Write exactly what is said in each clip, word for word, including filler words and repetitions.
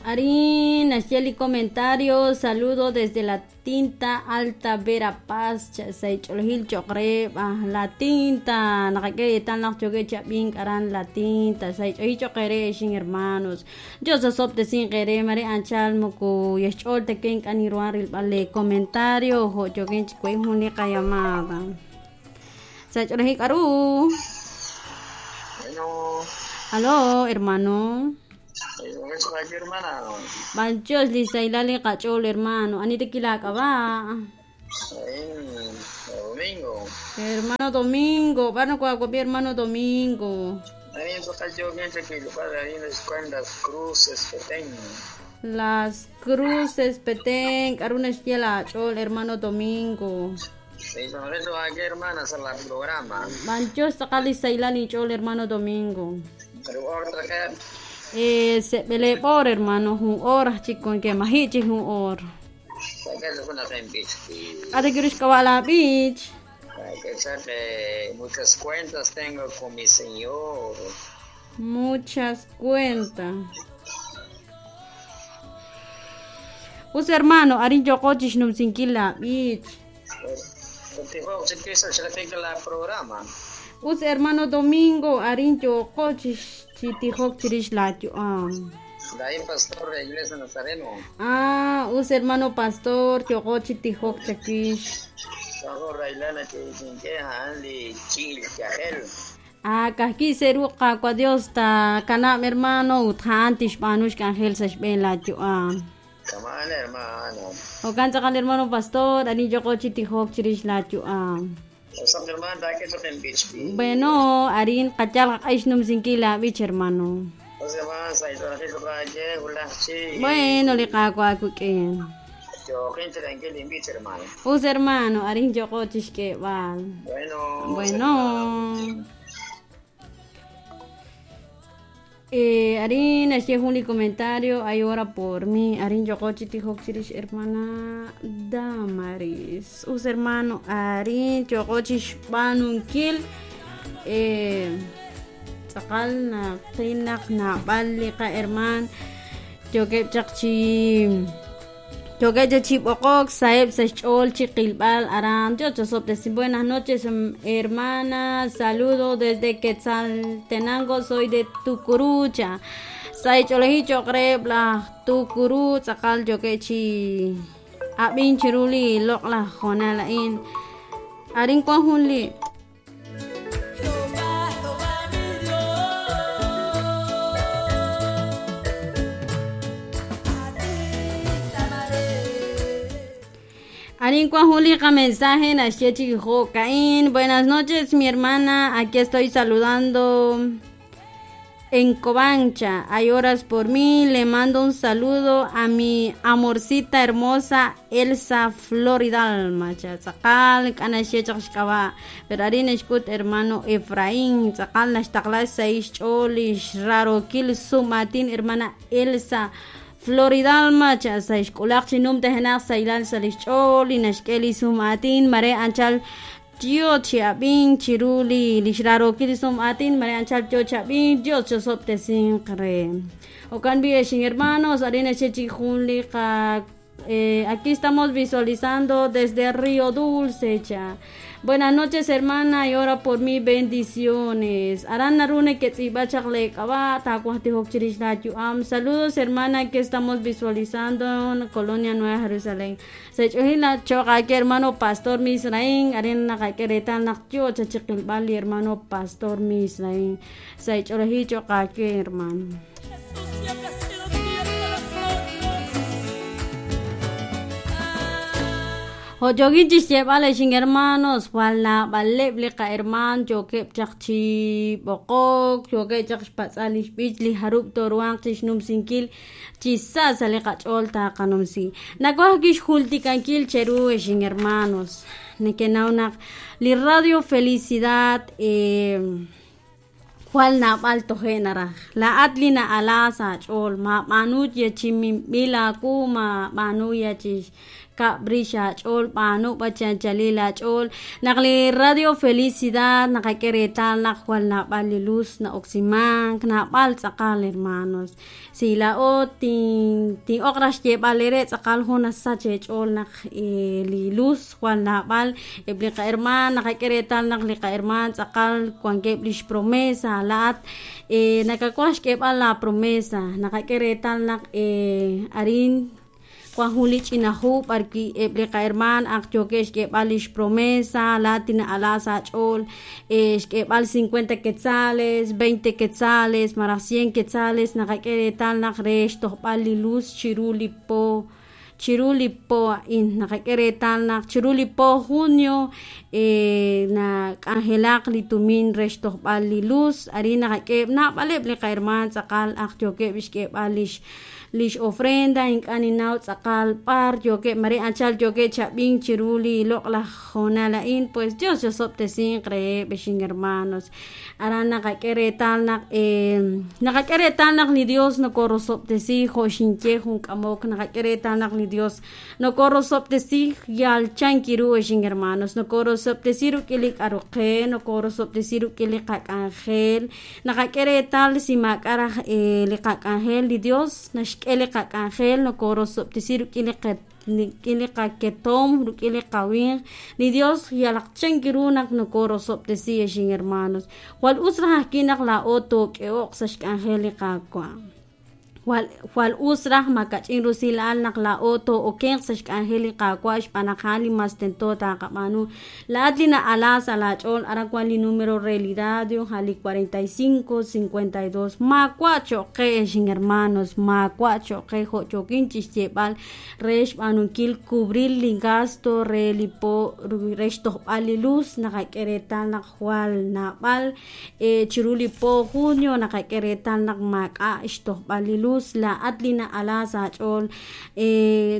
Arin naxye li comentario, saludo desde la Tinta Alta Verapaz, saych'olojil cho'q re b'aj la tinta naqak'e reetal naq chokej chab'ink aran la tinta saych'olojil cho'q re xin hermanos. Dios osobtesin qere mare anchal moko yaxch'ol taken k'aniruan rilb'al le comentario jo' choken chkuey jun li qallamada. Saych'olojil k'aru. Bueno. Aló, hermano. Hermana. Banchos lisailali qach'ol hermano. Anita kilak'aba. Domingo. Hermano Domingo, bueno, cuacuapi hermano Domingo. Las Cruces Petén. Las Cruces Petén, karuna xyela ch'ol hermano Domingo. Sí, hermana, la programa. Banchos taqali ch'ol hermano Domingo. Pero otra que Eh, se pele por hermano, un hora chico en que mahichi un hora. ¿A te quieres la beach? Hay que echarle muchas cuentas tengo con mi señor. Muchas cuentas. Us hermano, arin yokochish numsinkila beach. Us hermano Domingo, arin yokochish chitijok chirish la am. Daí pastor de Iglesia Nazareno. Ah, us hermano pastor, yoko chitijok chakish. Ah, kaki seru ka Dios ta kana hermano uthan tishpanush kangel sashben la am. Kaman hermano. O kansa kan hermano pastor, ani yoko chitijok chirish la am. Bueno, arin qachal q'ayshnum sinkila bich hermano. Bueno, li qaqwa kuk'in. Us hermano, arin yoqo chishk'eb'al. Bueno. Bueno. Eh, arin axye jun li comentario, hay hora por mí. Arin yoqo chitijok chirish hermana Damaris. Us hermano, arin yoqo chishb'anunkil. Eh, tz'aqal na qinaq nab'al li qa herman. Yokeb chaq chi Yokeb chi b'oqok saeb sa xch'ol chi qilb'al aran. Dios te buenas noches hermana, saludo desde Quetzaltenango, soy de Tucurucha. Saych'oleji choqreb la Tucuru tz'aqal yokeb chi ab'in chiruli loq la jonal la'in. Arin kuan jun li Arin Juli, mensaje Caín. Buenas noches, mi hermana. Aquí estoy saludando en Covancha. Hay horas por mí. Le mando un saludo a mi amorcita hermosa Elsa Floridalma. Tzakal, pero Arin eshkut hermano Efraín. Tzakal nashtakla seis cholish rarokil sumatin hermana Elsa Floridalma cha sa xk'ulaq chinum tejenaq sailal salixch'ol inashk'el isumatin mare anchal tio chiab'in chiruli lixrarokil isumatin mare anchal tio chiab'in Dios chosoptesin qre okan bi xin hermanos arina chechi junli qa eh, aquí estamos visualizando desde Río Dulce cha. Buenas noches, hermana, y ora por mí bendiciones. Aran narune que Saludos, hermana, que estamos visualizando en Colonia Nueva Jerusalén. Se choca que hermano pastor Misraín, arena queretal nakyo chachiqilbali hermano pastor Misraín. Se choca que hermano. Hoyoginchis llevale sin hermanos, wala baleb ka herman, yo que chakchi bokok, yo que chakch bich li harup toruan chisnum sinkil, chisa sale kacholta kanumsi. Nakuakish hultikankil cheru sin hermanos. Nekenaunak li radio felicidad eh Jual nabal tojenara. La atlina alasa chol ma manu ye chimimila kuma manu ye chis Kab' rix aach'ool b'aanu b'achanchalil aach'ool naq li Radio Felicidad naqak'e reetal naq jwal naab'al li luz na'oksimank naab'al tz'aqal hermanos. Si laa'o tin tin'oq raj xyeeb'al eere tz'aqal jun nasach eech'ool naq li luz jwal naab'al eb' li qahermaan naqak'e reetal naq li qahermaan tz'aqal wankeb' lix promesa laa'at nakawaj xk'eeb'al la promesa naqak'e reetal naq arin wan jun li ch'ina hu b'arwi' eb' li qahermaan ak yookeb' xk'eeb'al lix promesa laa'at tina'ala sa' aach'ool xk'eeb'al cincuenta quetzales veinte quetzales malaj cien quetzales naqak'e reetal naq re xtojb'al li luz chiru li po chiru li po a'in naqak'e reetal naq chiru li po junio nak'anjelaq li tumin re xtojb'al li luz arin naqak'e naab'aleb' li qahermaan tz'aqal ak yookeb' xk'eeb'al lix lix ofrenda ink'a' ninnaw tz'aqal b'ar yookeb' mare anchal yookeb' chab'ink chiru li loq'laj hoonal a'in pues Dios yosob'tesinq reheb' xin hermanos. Aran naqak'e reetal naq naqak'e reetal naq li Dios nokorosob'tesi jo' xinye jun k'amok naqak'e reetal naq li Dios nokorosob'tesi yal chankiru xin hermanos nokorosob'tesi rik'in li k'aru qe nokorosob'tesi rik'in li qak'anjel naqak'e reetal si maak'a raj li qak'anjel li Dios naxk'e li qak'anjel nokorosob'tesi rik'in li rik'in li qaketom rik'in li qawinq li Dios yalaq chankiru naq nokorosob'tesi xin hermanos. Jwal us raj ajwi' naq laa'o took'e'oq sa' xk'anjel li Qaawa' jwal jwal us raj makach'in rusilal naq laa'o too'okenq sa' xk'anjel li Qaawa' xb'aan naq a'an li mas tento taqab'aanu laa'at li na'ala sa' laach'ool aran wan li número re li radio a li cuarenta y cinco cincuenta y dos maawa' cho'q qe xin hermanos maawa' cho'q qe jo' yookin chixyeeb'al re xb'aanunkil cubrir li gasto re li po re xtojb'al li luz naqak'e reetal naq jwal naab'al chiru li po junio naqak'e reetal naq maak'a' xtojb'al li luz laa'at li na'ala sa' aach'ool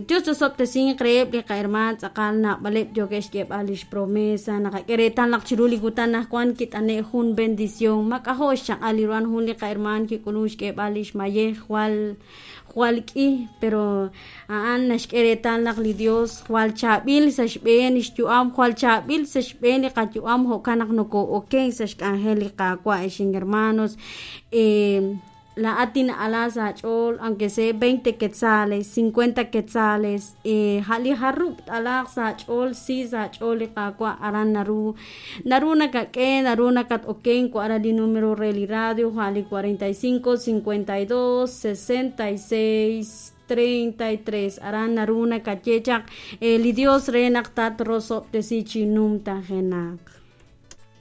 Dios yosob'tesinq reheb' li qahermaan tz'aqal naab'aleb' yookeb' xk'eeb'al lix promesa naqak'e reetal naq chiru li kutan anaqwan kit'ane' jun bendición mak'ajo' xchaq'al li ruhan jun li qahermaan kik'ulun xk'eeb'al lix mayej jwal jwal k'i pero a'an naxk'e reetal naq li Dios jwal chaab'il sa' xb'een xyu'am jwal chaab'il sa' xb'een li qayu'am jo'kan naq nokoo'oken sa' xk'anjel li Qaawa' xin hermanos laa'at tina'ala sa' aach'ool aunque sea veinte quetzales cincuenta quetzales ja' li jarub' t'alaaq sa' aach'ool si sa' aach'ool li Qaawa' aran naru naru nakak'e naru nakat-oken aran li número re li radio ja' li cuarenta y cinco cincuenta y dos sesenta y seis treinta y tres aran naru nakaye chaq li Dios re naq tatrosob'tesi chi numtajenaq.